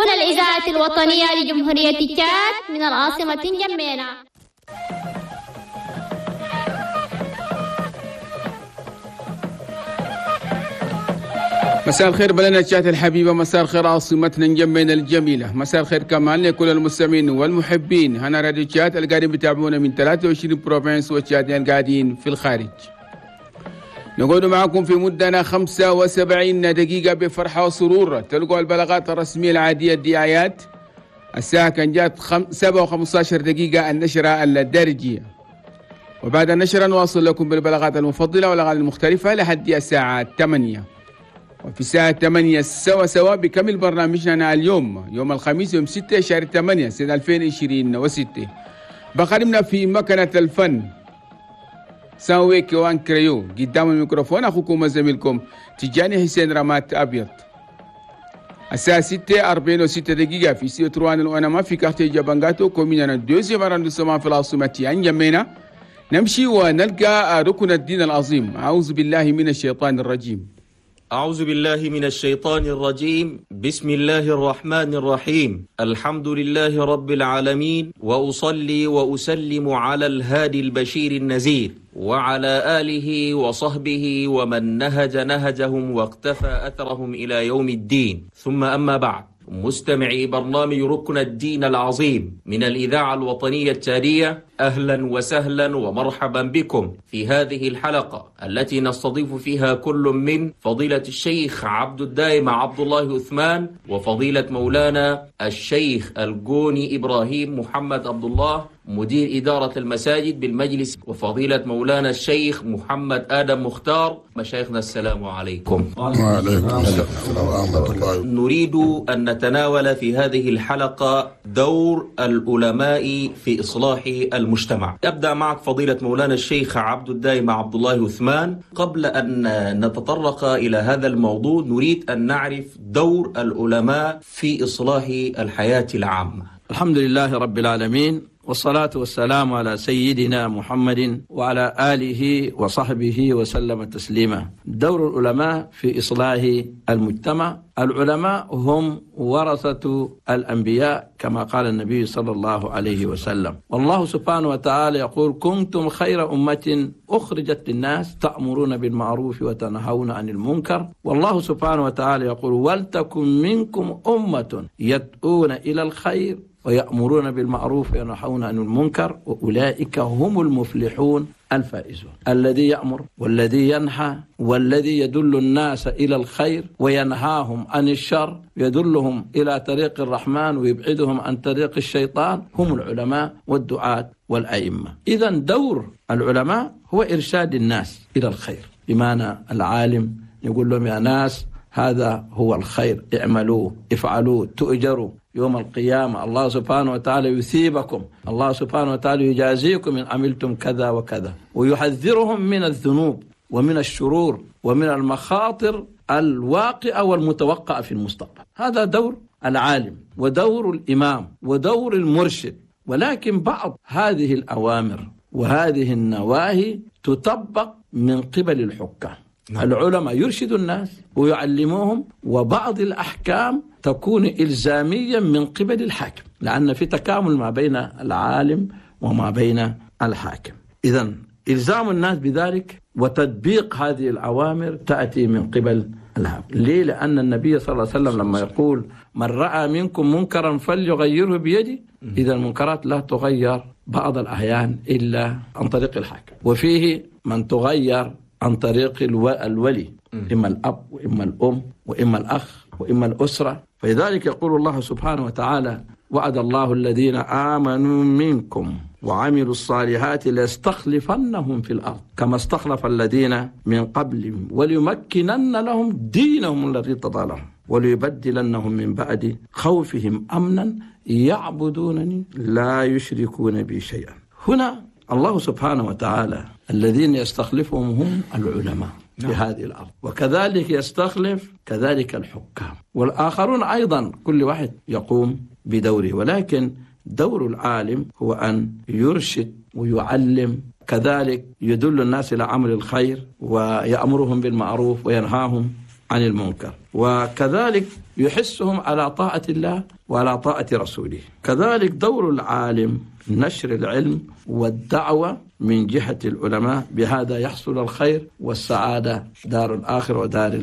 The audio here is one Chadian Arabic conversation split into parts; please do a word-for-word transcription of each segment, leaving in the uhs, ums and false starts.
هنا الإذاعة الوطنية لجمهورية تشاد من العاصمة نجمينا. مساء الخير بلدنا تشاد الحبيبة، مساء الخير عاصمتنا نجمينا الجميلة، مساء الخير كمان لكل المستمعين والمحبين. هنا راديو تشاد القاعدين بتابعونا من ثلاثة وعشرين province والتشاديين قاعدين في الخارج. نقعد معكم في مدة خمسة وسبعين دقيقة بفرحة وسرور. تلقوا البلاغات الرسمية العادية الدعايات. الساعة كان جات سبعة وخمسة عشر دقيقة النشرة الدارجية، وبعد النشرة نواصل لكم بالبلاغات المفضلة والأغاني المختلفة لحد الساعة ثمانية. وفي الساعة ثمانية سوا سوا بكمل برنامجنا اليوم يوم الخميس يوم ستة شهر ثمانية سنة ألفين وعشرين وستة. بخدمنا في مكنة الفن ساوي كوان كريو، قدام الميكروفون أخوكم وزميلكم تجاني حسين رمات أبيض. الساعة ستة أربعين وستة دقيقة في سيو تروان وأنا في quartier جابانغاتو commune deuxième arrondissement في العاصمة أنجمينا. نمشي ونلقى ركن الدين العظيم. أعوذ بالله من الشيطان الرجيم. أعوذ بالله من الشيطان الرجيم. بسم الله الرحمن الرحيم. الحمد لله رب العالمين، وأصلي وأسلم على الهادي البشير النذير وعلى آله وصحبه ومن نهج نهجهم واقتفى أثرهم إلى يوم الدين. ثم أما بعد، مستمعي برنامج ركن الدين العظيم من الإذاعة الوطنية التشادية، أهلا وسهلا ومرحبا بكم في هذه الحلقة التي نستضيف فيها كل من فضيلة الشيخ عبد الدائم عبد الله عثمان وفضيلة مولانا الشيخ الجوني إبراهيم محمد عبد الله مدير إدارة المساجد بالمجلس، وفضيلة مولانا الشيخ محمد آدم مختار. مشايخنا السلام عليكم. وعليكم السلام ورحمة الله. نريد أن نتناول في هذه الحلقة دور العلماء في إصلاح المجتمع. أبدأ معك فضيلة مولانا الشيخ عبد الدائم عبد الله عثمان. قبل أن نتطرق إلى هذا الموضوع نريد أن نعرف دور العلماء في إصلاح الحياة العامة. الحمد لله رب العالمين، والصلاة والسلام على سيدنا محمد وعلى آله وصحبه وسلم تسليما. دور العلماء في إصلاح المجتمع. العلماء هم ورثة الأنبياء كما قال النبي صلى الله عليه وسلم، والله سبحانه وتعالى يقول كنتم خير أمة أخرجت للناس تأمرون بالمعروف وتنهون عن المنكر. والله سبحانه وتعالى يقول ولتكن منكم أمة يدعون إلى الخير ويأمرون بالمعروف وينهون عن المنكر وأولئك هم المفلحون الفائزون. الذي يأمر والذي ينهى والذي يدل الناس إلى الخير وينهاهم عن الشر، يدلهم إلى طريق الرحمن ويبعدهم عن طريق الشيطان، هم العلماء والدعاة والأئمة. إذن دور العلماء هو إرشاد الناس إلى الخير، بمعنى العالم يقول لهم يا ناس هذا هو الخير، اعملوه افعلوه تؤجروا يوم القيامة، الله سبحانه وتعالى يثيبكم، الله سبحانه وتعالى يجازيكم إن عملتم كذا وكذا، ويحذرهم من الذنوب ومن الشرور ومن المخاطر الواقعة والمتوقعة في المستقبل. هذا دور العالم ودور الإمام ودور المرشد. ولكن بعض هذه الأوامر وهذه النواهي تطبق من قبل الحكام. نعم. العلماء يرشدوا الناس ويعلموهم، وبعض الأحكام تكون إلزاميا من قبل الحاكم، لأن في تكامل ما بين العالم وما بين الحاكم. إذن إلزام الناس بذلك وتطبيق هذه الأوامر تأتي من قبل الحاكم. ليه؟ لأن النبي صلى الله عليه وسلم لما يقول من رأى منكم منكرا فليغيره بيده، إذا المنكرات لا تغير بعض الأحيان إلا عن طريق الحاكم، وفيه من تغير عن طريق الولي، إما الأب وإما الأم وإما الأخ وإما الأسرة. فلذلك يقول الله سبحانه وتعالى وعد الله الذين آمنوا منكم وعملوا الصالحات ليستخلفنهم في الأرض كما استخلف الذين من قبلهم وليمكنن لهم دينهم الذي ارتضى لهم وليبدلنهم من بعد خوفهم أمنا يعبدونني لا يشركون بي شيئا. هنا الله سبحانه وتعالى الذين يستخلفهم هم العلماء في هذه الأرض، وكذلك يستخلف كذلك الحكام والآخرون أيضا، كل واحد يقوم بدوره. ولكن دور العالم هو أن يرشد ويعلم، كذلك يدل الناس إلى عمل الخير ويأمرهم بالمعروف وينهاهم عن المنكر، وكذلك يحسهم على طاعة الله وعلى طاعة رسوله. كذلك دور العالم نشر العلم والدعوة من جهة العلماء، بهذا يحصل الخير والسعادة دار الآخرة ودار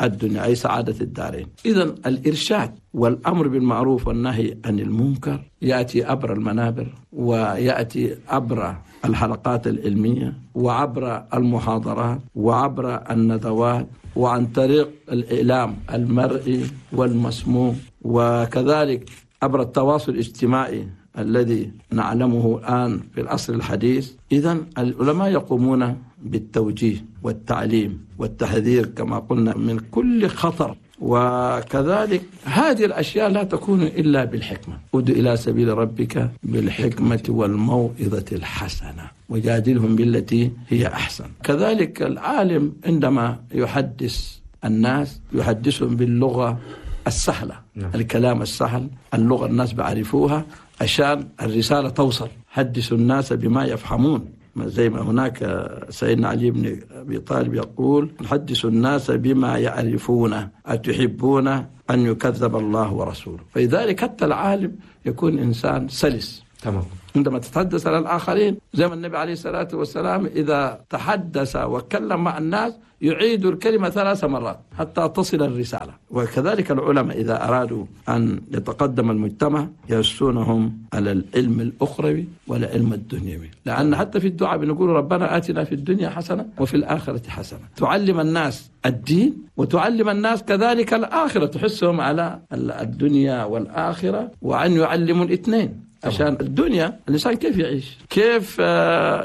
الدنيا، أي سعادة الدارين. إذن الإرشاد والأمر بالمعروف والنهي عن المنكر يأتي عبر المنابر، ويأتي عبر الحلقات العلمية، وعبر المحاضرات، وعبر الندوات، وعن طريق الإعلام المرئي والمسموع، وكذلك عبر التواصل الاجتماعي الذي نعلمه الآن في العصر الحديث. إذن العلماء يقومون بالتوجيه والتعليم والتحذير كما قلنا من كل خطر، وكذلك هذه الأشياء لا تكون إلا بالحكمة. ادع إلى سبيل ربك بالحكمة والموعظة الحسنة وجادلهم بالتي هي أحسن. كذلك العالم عندما يحدث الناس يحدثهم باللغة السهلة، نعم. الكلام السهل، اللغة الناس بعرفوها عشان الرسالة توصل. حدثوا الناس بما يفهمون، زي ما هناك سيدنا علي بن أبي طالب يقول حدثوا الناس بما يعرفون أتحبون أن يكذب الله ورسوله. فلذلك حتى العالم يكون إنسان سلس. تمام. عندما تتحدث على الآخرين زي ما النبي عليه الصلاة والسلام إذا تحدث وكلم مع الناس يعيد الكلمة ثلاث مرات حتى تصل الرسالة. وكذلك العلماء إذا أرادوا أن يتقدم المجتمع يحثونهم على العلم الأخروي والعلم الدنيوي، لأن حتى في الدعاء بنقول ربنا آتنا في الدنيا حسنة وفي الآخرة حسنة. تعلم الناس الدين وتعلم الناس كذلك الآخرة، تحسهم على الدنيا والآخرة، وأن يعلموا الاثنين. عشان الدنيا الإنسان كيف يعيش، كيف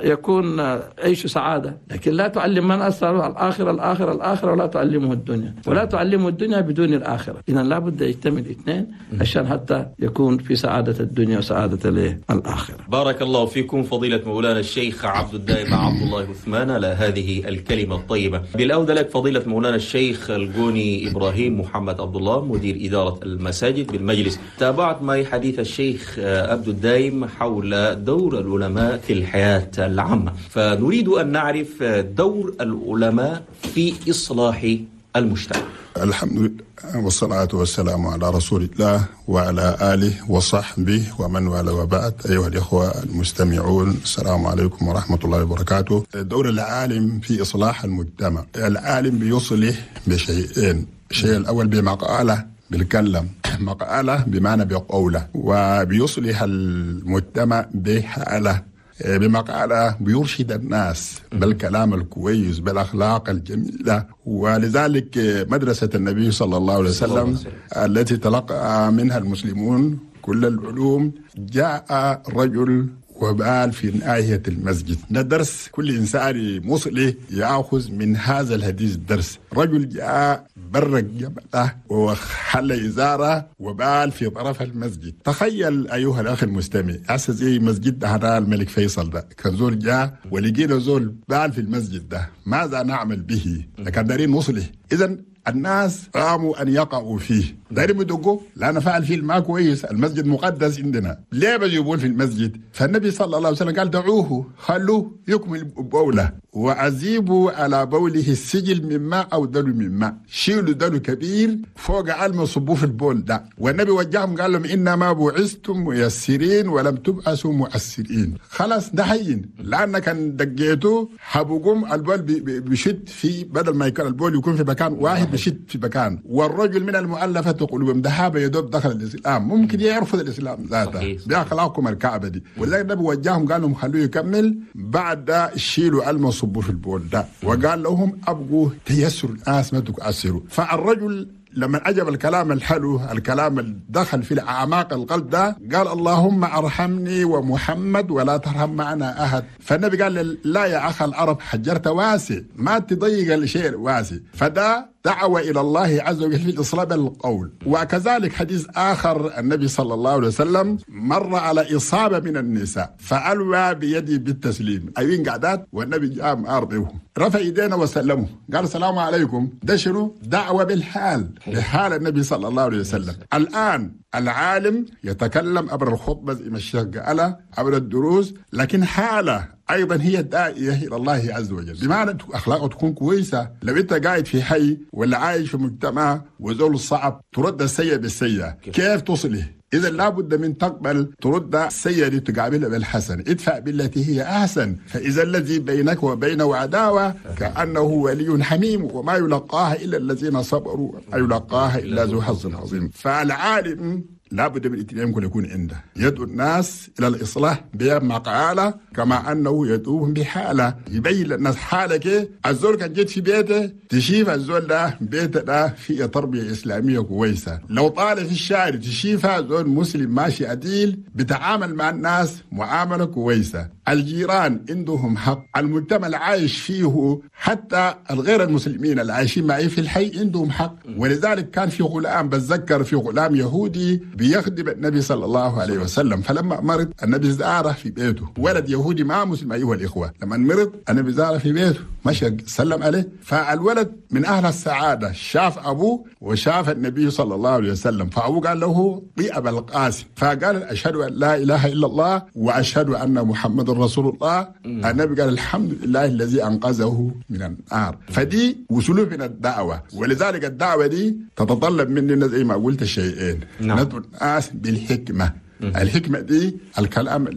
يكون عيش سعادة، لكن لا تعلم من أثر الآخرة الآخرة الآخرة ولا تعلمه الدنيا، ولا تعلمه الدنيا بدون الآخرة. إذن لا بد يجتمع الاثنين عشان حتى يكون في سعادة الدنيا وسعادة الآخرة. بارك الله فيكم فضيلة مولانا الشيخ عبد الدائم عبد الله عثمان على هذه الكلمة الطيبة. بالأودة لك فضيلة مولانا الشيخ الجوني إبراهيم محمد عبد الله مدير إدارة المساجد بالمجلس. تابعت معي حديث الشيخ عبد الدائم حول دور العلماء في الحياة العامة، فنريد أن نعرف دور العلماء في إصلاح المجتمع. الحمد لله والصلاة والسلام على رسول الله وعلى آله وصحبه ومن والاه، وبعد. أيها الإخوة المستمعون، السلام عليكم ورحمة الله وبركاته. دور العالم في إصلاح المجتمع، العالم بيصلح بشيئين. الشيء الأول بمقالة، بالكلم، مقالة بمعنى بقولة، وبيصلح المجتمع بحالة، بمقالة بيرشد الناس بالكلام الكويس بالأخلاق الجميلة. ولذلك مدرسة النبي صلى الله عليه وسلم التي تلقى منها المسلمون كل العلوم، جاء رجل وبال في ناحية المسجد. ده درس كل إنسان مصلي يأخذ من هذا الحديث درس. رجل جاء برق جبله وحل إزاره وبال في طرف المسجد. تخيل أيها الأخ المستمع، أساس زي مسجد هذا الملك فيصل ده، كان زول جاء ولقينا زول بال في المسجد ده، ماذا نعمل به؟ لكن دارين مصلي. إذن الناس قاموا أن يقعوا فيه، دايرين بدقوا لا نفعل فيه ما كويس، المسجد مقدس عندنا، ليه بيجيبون في المسجد؟ فالنبي صلى الله عليه وسلم قال دعوه، خلوه يكمل بوله، وأزيبوا على بوله السجل من ماء أو دلو من ماء، شيلوا دلو كبير فوق علم صبوه في البول ده. والنبي وجههم قال لهم إنما بعثتم ميسرين ولم تبعثوا معسرين. خلاص ده حين، لأن كان دقيته حبقوم البول بشد في، بدل ما يكون البول يكون في مكان واحد بشد في مكان. والرجل من المؤلفة قلوبهم ذهب يدوب دخل الإسلام، ممكن يرفض الإسلام ذاته بأخلاقكم الكعبة دي. ولذلك النبي وجههم قال لهم خلوه يكمل، بعد شيلوا علم صبوا في البول ده، وقال لهم أبقوا تيسروا الناس ما تكسروا. فالرجل لما عجب الكلام الحلو، الكلام اللي دخل في أعماق القلب ده، قال اللهم أرحمني ومحمد ولا ترحم معنا أحد. فالنبي قال لا يا أخ العرب، حجرت واسع، ما تضيق الشيء واسع. فده دعوة إلى الله عز وجل في الإصلاح بالقول. وكذلك حديث آخر، النبي صلى الله عليه وسلم مر على إصابة من النساء فألوى بيدي بالتسليم، أيين قعدات، والنبي جاء أرضهم رفع يدينا وسلموا، قال السلام عليكم. ده شنو؟ دعوة بالحال، بحال النبي صلى الله عليه وسلم. الآن العالم يتكلم عبر الخطبة زي ما الشيخ قال، عبر الدروس، لكن حالة أيضا هي الداعية إلى الله عز وجل، بمعنى أخلاقه تكون كويسة. لو أنت قاعد في حي ولا عايش في مجتمع وزول صعب ترد السيئة بالسيئة، كيف تصله؟ إذا لابد من تقبل ترد السيئة دي تقابلها بالحسن، ادفع بالتي هي أحسن، فإذا الذي بينك وبينه عداوة كأنه ولي حميم، وما يلقاها إلا الذين صبروا وما يلقاها إلا ذو حظ عظيم. فالعالم لابد من الاتنين يكون يكون عنده، يدعو الناس إلى الإصلاح بمقالة كما أنه يدعوهم بحالة، يبين للناس حالك. الزول كان جيت في بيته تشيف الزول ده بيته ده فيه تربية إسلامية كويسة، لو طالع في الشارع تشيفها زول مسلم ماشي عديل بتعامل مع الناس معاملة كويسة، الجيران عندهم حق، المجتمع العايش فيه حتى الغير المسلمين اللي عايشين معي في الحي عندهم حق. ولذلك كان في غلام، بتذكر في غلام يهودي بيخدم النبي صلى الله عليه وسلم، فلما مرض النبي زاره في بيته، ولد يهودي مع مسلم أيها الإخوة، لما مرض النبي زاره في بيته مشى سلم عليه، فالولد من أهل السعادة شاف أبوه وشاف النبي صلى الله عليه وسلم، فأبوه قال له طيب أبا القاسم، فقال أشهد أن لا إله إلا الله وأشهد أن محمد رسول الله. النبي قال الحمد لله الذي أنقذه من النار. فدي وسلوب من الدعوة، ولذلك الدعوة دي تتطلب مننا زي ما قلت شيئين، ندعو الناس بالحكمة. الحكمة دي الكلام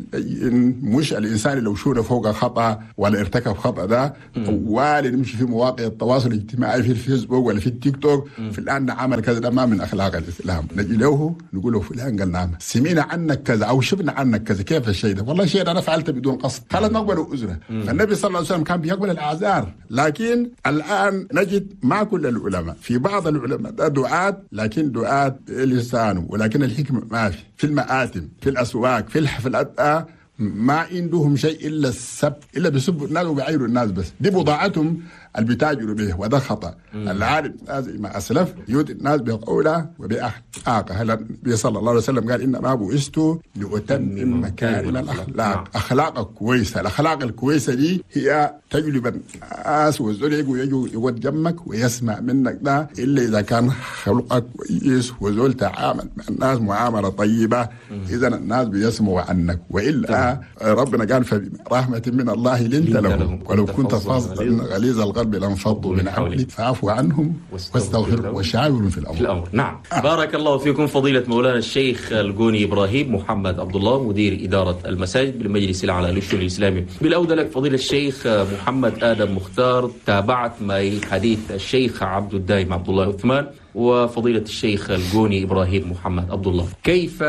مش الإنسان لو شوره فوق خطأ ولا ارتكب خطأ ده ولا نمشي في مواقع التواصل الاجتماعي في الفيسبوك ولا في التيك توك فلان عمل كذا، ده ما من أخلاق الإسلام. نجي له نقول له فلان قال نعم سمينا عنك كذا أو شفنا عنك كذا، كيف الشيء ده؟ والله شيء أنا فعلته بدون قصد، خلاص نقبل عذره. فالنبي صلى الله عليه وسلم كان بيقبل الأعذار، لكن الآن نجد مع كل العلماء، في بعض العلماء ده دعاة لكن دعاة لسانه، ولكن الحكمة ما في، في المآتم في الأسواق في الحفلات ما عندهم شيء إلا السب، إلا بيسبوا الناس وبيعيروا الناس بس، دي بضاعتهم اللي بيتاجروا به، وده خطأ. العالم زي ما أسلف يؤذي الناس بقوله وبأخلاقه. النبي صلى الله عليه وسلم قال إنما بعثت لأتمم مكارم الأخلاق. أخلاقك كويسة، الأخلاق الكويسة دي هي تجلب الناس، والزول يجوا يجوا يقعد جنبك ويسمع منك ده، إلا إذا كان خلقك كويس وزول تعامل مع الناس معاملة طيبة، إذا الناس بيسمعوا عنك. وإلا ربنا قال فبرحمة من الله لنت لهم ولو كنت فظا غليظ القلب لانفضوا من حولك فاعف عنهم واستغفر وشاورهم في الأمر. في الأمر. نعم. آه. بارك الله فيكم فضيلة مولانا الشيخ الجوني إبراهيم محمد عبد الله مدير إدارة المساجد بالمجلس الأعلى للشؤون الإسلامي. بالأودة لك فضيلة الشيخ محمد آدم مختار، تابعت معي حديث الشيخ عبد الدائم عبد الله عثمان وفضيلة الشيخ الجوني إبراهيم محمد عبد الله. كيف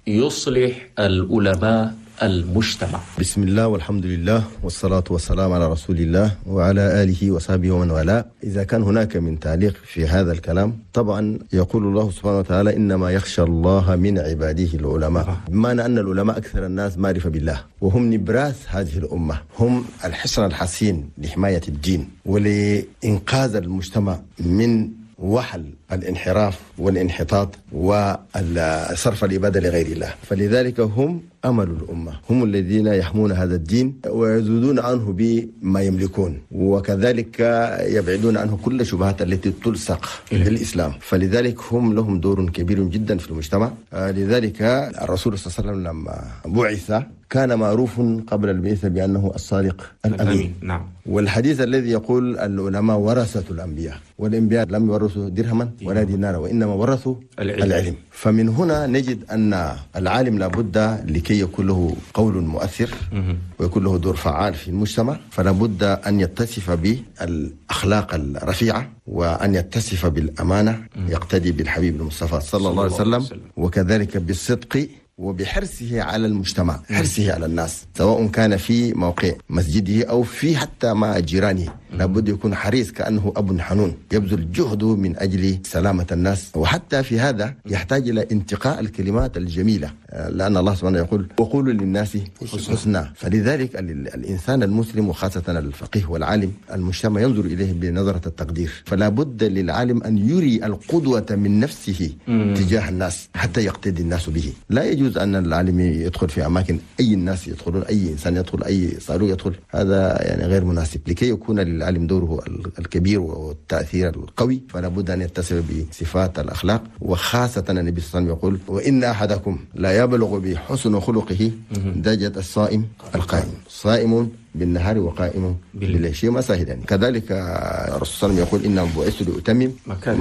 يصلح العلماء المجتمع؟ بسم الله والحمد لله والصلاة والسلام على رسول الله وعلى آله وصحبه ومن والاه. إذا كان هناك من تعليق في هذا الكلام، طبعا يقول الله سبحانه وتعالى إنما يخشى الله من عباده العلماء، بمعنى أن العلماء أكثر الناس معرفة بالله، وهم نبراس هذه الأمة، هم الحصن الحصين لحماية الدين ولإنقاذ المجتمع من وحل الانحراف والانحطاط وصرف العبادة لغير الله. فلذلك هم أمل الأمة، هم الذين يحمون هذا الدين ويزودون عنه بما يملكون، وكذلك يبعدون عنه كل شبهات التي تلصق بالإسلام. فلذلك هم لهم دور كبير جدا في المجتمع. لذلك الرسول صلى الله عليه وسلم لما بعث كان معروف قبل البعثة بأنه الصادق الأمين. نعم. والحديث الذي يقول العلماء ورثة الأنبياء، والأنبياء لم يورثوا درهما ولا دينارا وإنما ورثوا العلم. العلم. فمن هنا نجد أن العالم لابد لكي يكون له قول مؤثر ويكون له دور فعال في المجتمع، فلابد أن يتصف بالأخلاق الرفيعة وأن يتصف بالأمانة، يقتدي بالحبيب المصطفى صلى الله عليه وسلم، وكذلك بالصدق وبحرصه على المجتمع، حرصه على الناس، سواء كان في موقع مسجده أو في حتى مع جيرانه، لابد يكون حريص كأنه أب حنون يبذل جهده من أجل سلامة الناس. وحتى في هذا يحتاج إلى انتقاء الكلمات الجميلة، لأن الله سبحانه يقول وقولوا للناس حسنا. فلذلك الإنسان المسلم وخاصة الفقيه والعالم المجتمع ينظر إليه بنظرة التقدير، فلا بد للعالم أن يري القدوة من نفسه تجاه الناس حتى يقتدي الناس به. لا يجوز أن العالم يدخل في أماكن أي الناس يدخلون، أي إنسان يدخل، أي صاروخ يدخل، هذا يعني غير مناسب. لكي يكون للعالم دوره الكبير والتأثير القوي فلا بد أن يتصف بصفات الأخلاق، وخاصة النبي صلى الله عليه وسلم يقول وإن أحدكم لا يبلغ بحسن خلقه درجة الصائم القائم، صائم بالنهار وقائم بالليل، شيء ما سهل يعني. كذلك الرسول صلى الله عليه وسلم يقول إن بعثت لأتمم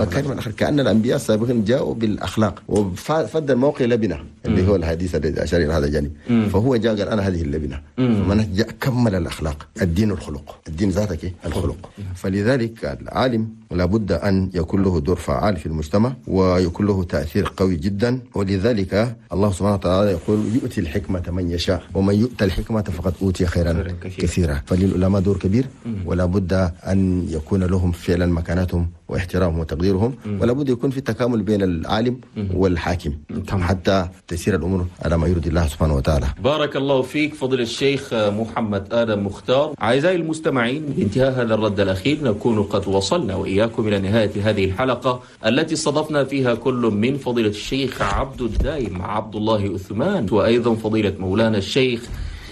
مكارم الأخلاق، كأن الأنبياء السابقين جاءوا بالأخلاق وفد الموقع لبنة اللي هو الحديث الذي أشار إلى هذا الجانب، فهو جاء قال أنا هذه اللبنة، فمن جاء كمل الأخلاق. الدين الخلق، الدين ذاتك الخلق. فلذلك العالم لابد أن يكون له دور فعال في المجتمع ويكون له تأثير قوي جدا. ولذلك الله سبحانه وتعالى يقول يؤتي الحكمة من يشاء ومن يؤتى الحكمة فقد أوتي خيرا كثيرا. فللعلماء دور كبير، ولا بد أن يكون لهم فعلا مكانتهم واحترامهم وتقديرهم، ولا بد يكون في تكامل بين العالم والحاكم حتى تسير الأمور على ما يرضي الله سبحانه وتعالى. بارك الله فيك فضل الشيخ محمد آدم مختار. أعزائي المستمعين، بانتهاء هذا الرد الأخير نكون قد وصلنا وإياكم إلى نهاية هذه الحلقة التي استضفنا فيها كل من فضيلة الشيخ عبد الدايم عبد الله عثمان، وأيضا فضيلة مولانا الشيخ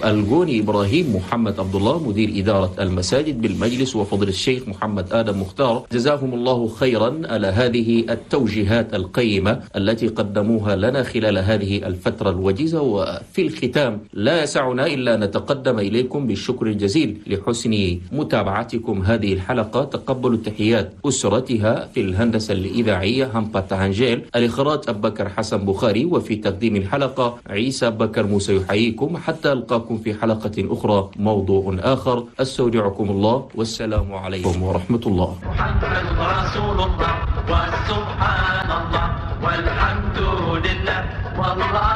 الجوني إبراهيم محمد عبد الله مدير إدارة المساجد بالمجلس، وفضل الشيخ محمد آدم مختار. جزاهم الله خيرا على هذه التوجيهات القيمة التي قدموها لنا خلال هذه الفترة الوجيزة. وفي الختام لا يسعنا إلا نتقدم إليكم بالشكر الجزيل لحسن متابعتكم هذه الحلقة. تقبلوا تحيات أسرتها في الهندسة الإذاعية همبا تهانجيل، الإخراج أبكر حسن بخاري، وفي تقديم الحلقة عيسى بكر موسى يحييكم حتى ألقاكم في حلقة أخرى موضوع آخر. أستودعكم الله والسلام عليكم ورحمة الله. محمد رسول الله وسبحان الله والحمد لله والله